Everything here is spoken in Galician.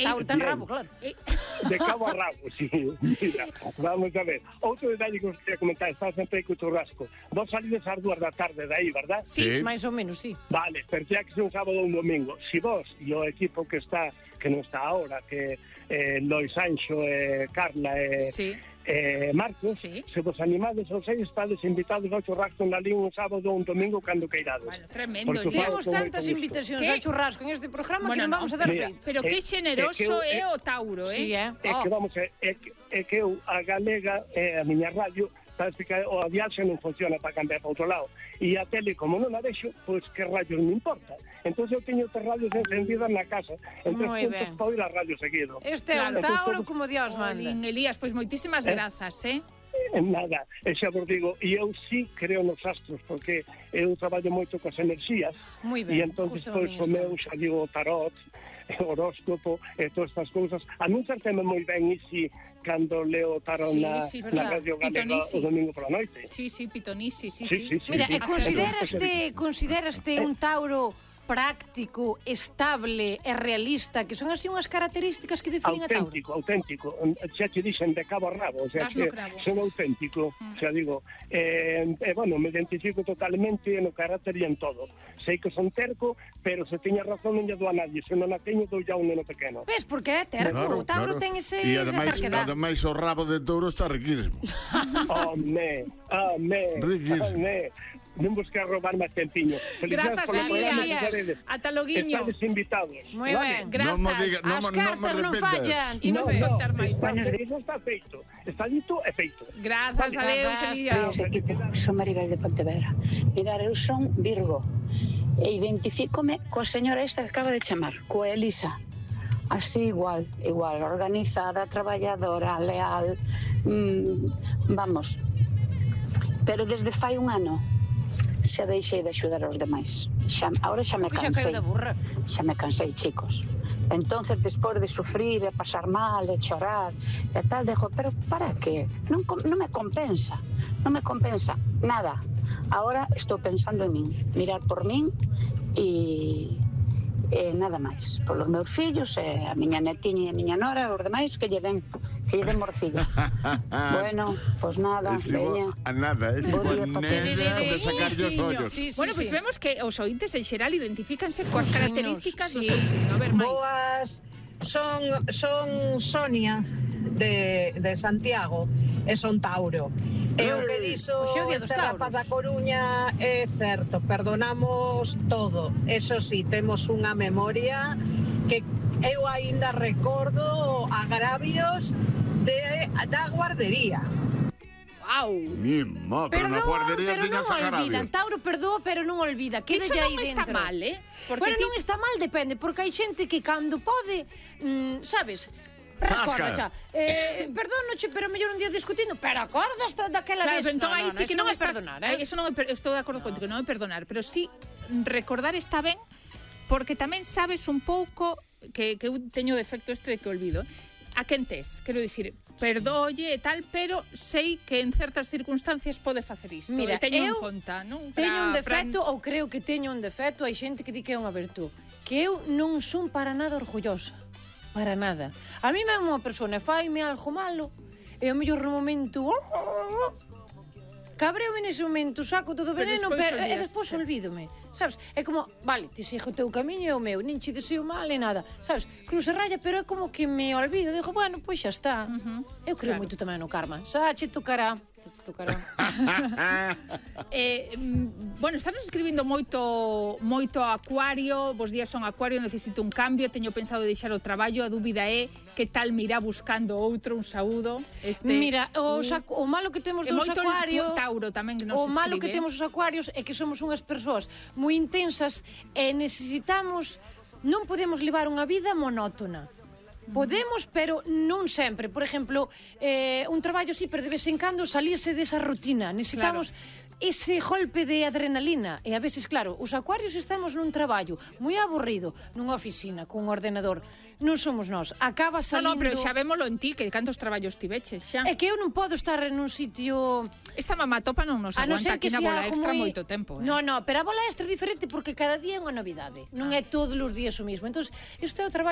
Tauro ten rabo, claro. De cabo a rabo, sí. Mira, vamos a ver. Outro detalle que os quería comentar, está sempre aí co churrasco. Vos salides ás 2 da tarde de aí, verdad? Sí, máis ou menos, sí. Vale, pero xa que é un sábado ou un domingo. Si vos e o equipo que non está ahora, que Lois Sancho, Carla e Marcos, se vos animades aos 6, estades invitados ao churrasco na Lín un sábado ou un domingo cando queirades. Bueno, tremendo. Temos tantas invitacións ao churrasco en este programa que non vamos a dar feito. Pero que xeneroso é o Tauro, Sí, É que vamos, é que eu, a Galega, a miña radio, sabes que o viaxe non funciona para cambiar para outro lado. E a tele, como non a deixo, pois que radios me importa. Entón eu teño tres radios encendidas na casa. En 3 puntos para oír a radio seguido. Este é un Tauro como Dios manda. Elías, pois moitísimas grazas, Nada, xa vos digo, e eu sí creo nos astros, porque eu traballo moito coas enerxías. Moi ben, e entón, pois, o meu, xa digo, tarot, horóscopo, e todas estas cousas. A mí certeme moi ben, e si cando leo tarot na Radio Galega o domingo pola noite. Sí, Pitonisi, sí. Mira, e consideraste un Tauro práctico, estable e realista, que son así unhas características que definen a Tauro? Auténtico. Xa te dixen de cabo a rabo, o sea, que son auténtico. Xa digo, bueno, me identifico totalmente no carácter e en todo. Sei que son terco, pero se teña razón non lle dou a nadie. Se non a teño, dou ya un neno pequeno. Ves, porque é terco. O Tauro ten ese terquedad. E ademais o rabo de touro está riquísimo. Home. Non vos quero roubar máis tempiño. Grazas, Elías. Ata loguiño. Estades invitados. Moi ben, grazas. As cartas non fallan. E non se contar máis. Iso está feito. Está dito e feito. Grazas, adeus, Elías. Son Maribel de Pontevedra. Mirar, eu son Virgo e identifícome coa señora esta que acaba de chamar, coa Elisa. Así igual, organizada, traballadora, leal, vamos. Pero desde fai un ano xa deixei de axudar aos demais. Ahora xa me cansei. Xa me cansei, chicos. Entonces, despois de sufrir, e pasar mal, e chorar, e tal, dejo, pero para qué? Non me compensa. Non me compensa nada. Ahora estou pensando en min, mirar por min e nada máis. Polos meus fillos, e a miña netiña e a miña nora, os demais que lle den morcilla. Bueno, pues nada, veña. A nada, de sacarlle os ollos. Bueno, pois vemos que os ointes en xeral identifícanse coas características do seu signo. A ver, máis. Boas, son Sonia de Santiago e son Tauro. E o que dixo este rapaz da Coruña é certo, perdonamos todo. Eso sí, temos unha memoria que eu aínda recordo agravios da guardería. Wow. Pero na guardería tiñas agravios. Tauro perdoa, pero non olvida. Queda aí dentro. Iso non está mal, Bueno, non está mal, depende, porque hai xente que cando pode, sabes, recorda xa. Perdónoche, pero mellor un día discutindo, pero acordas daquela vez. Claro, entón aí sí que non é perdonar, Eso non estou de acordo contigo, non é perdonar, pero sí recordar está ben, porque tamén sabes un pouco que eu teño defecto este de que olvido. A quen tes? Quero dicir, perdólle e tal, pero sei que en certas circunstancias pode facer isto. Mira, teño en conta, non? Teño un defecto, ou creo que teño un defecto, hai xente que di que é unha virtud, que eu non son para nada orgullosa. Para nada. A mí mesmo unha persona faime algo malo, e o mellor momento cabreo nese momento, saco todo o veneno, e despois olvídome. Sabes? É como, vale, te sigo o teu camiño e o meu, nin che deseo mal e nada. Sabes? Cruza raya, pero é como que me olvido. Digo, bueno, pois xa está. Eu creo moito tamén no karma. Xa che tocará. Bueno, estamos escribindo moito Acuario. Vos días son Acuario, necesito un cambio. Teño pensado deixar o traballo. A dúbida é que tal me irá buscando outro, un saúdo. Mira, o malo que temos dos Acuarios, Tauro tamén que nos escribe. O malo que temos os Acuarios é que somos unhas persoas moi intensas e necesitamos, non podemos levar unha vida monótona. Podemos, pero non sempre. Por exemplo, un traballo así, pero de vez en cando salirse desa rutina. Necesitamos ese golpe de adrenalina. E a veces, claro, os Acuarios estamos nun traballo moi aburrido, nunha oficina, cun ordenador. Non somos nós. Acaba salindo... No, pero xa vémolo en ti, que cantos traballos ti veches xa. É que eu non podo estar nun sitio... Esta mamá topa non nos aguanta aquí na bola extra moito tempo. No, pero a bola extra é diferente porque cada día é unha novidade. Non é todos os días o mismo. Entón, isto é o traballo